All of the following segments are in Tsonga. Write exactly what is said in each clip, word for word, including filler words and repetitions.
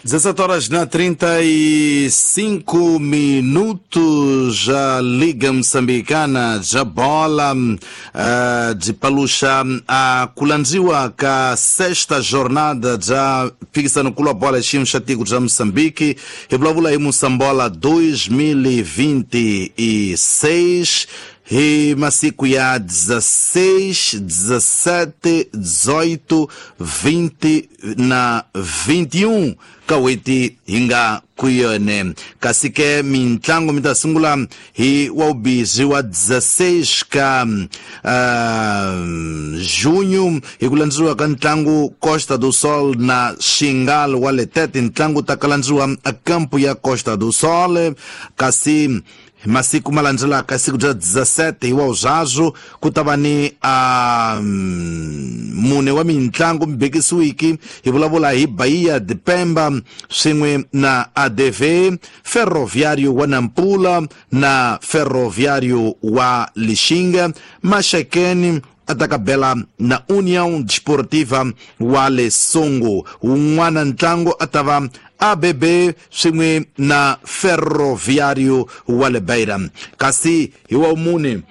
dezessete horas na trinta e cinco minutos, a Liga Moçambicana já bola uh, de paluxa a kulandziwa ka sexta jornada já fixa no culo a bola ximo xatiku já Moçambique e vulavula hi Moçambola dois mil e vinte e seis hi masiku ya dezesseis, dezessete, dezoito, vinte na vinte e um kaweti hinga kuyone kasi ke mintlango mi ta sungula hi wa vubizi wa dezesseis ka uh, junho hi ku landziwa ka ntlangu Costa do Sol na Xingal wa Letete ntlangu ta kalandziwa a campo ya Costa do Sol kasi masiku malandzelaka siku bya dezessete hi wa uzazu ku ta va ni a mune wa mintlangu mibekisiwiki hi vulavula hi Bahia de Pemba swin'we na A D V Ferroviário wa Nampula na Ferroviário wa Lixinga Maxakeni atakabela na União Desportiva wa Lesongo un'wana ntlangu atava A B B swin'we na Ferroviário wa le Beira kasi hi wa mune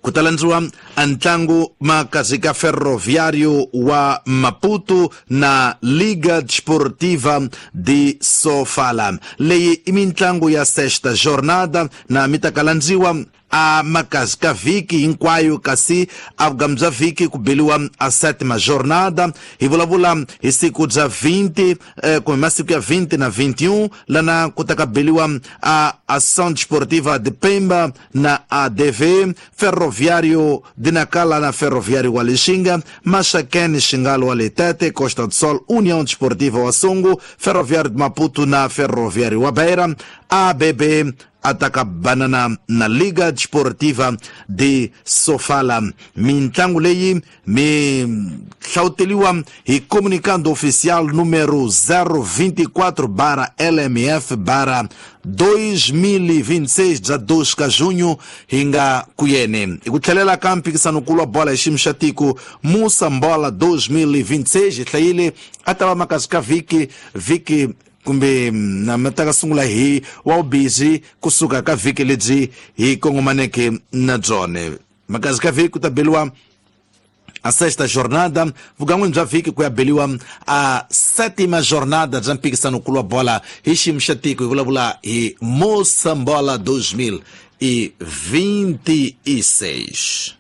ku ta landziwa ntlangu makazi ka Ferroviário wa Maputo na Liga Desportiva de Sofala leyi i mintlangu ya sexta jornada na mi ta kalandziwa a makazi ka vhiki hinkwayo kasi a vugamu bya vhiki ku beliwa a sétima jornada hi vulavula hi siku bya vinte eh, kumbe masiku ya vinte na vinte e um lana ku ta ka beliwa a Ação Desportiva de Pemba na A D V Ferroviário de Nacala na Ferroviário wa Lixinga Maxakene Xingalo wa Letete Costa do Sol União Desportiva wa Songo Ferroviário de Maputo na Ferroviário wa Beira A B B ataka banana na Liga Desportiva de Sofala mintlangu leyi mi hlawuteliwa hi comunicado oficial número zero vinte e quatro barra L M F barra dois mil e vinte e seis bya dois ka junho hi nga kuyene hi ku tlhelela ka mphikisano-nkulu wa bola hi xiyimo xa tiko Moçambola dois mil e vinte e seis hi hlayile a ta va makazi ka vhiki vhiki kumbe na mi ta ka sungula hi wa vubizi kusuka ka vhiki lebyi hi kongomaneke na byona makazi ka vhiki ku ta beliwa a sexta jornada vugan'wini bya vhiki ku ya beliwa a sétima jornada bya mphikisano-nkulu wa bola hi xiyimo xa tiko hi vulavula hi Moçambola dois mil e vinte e seis.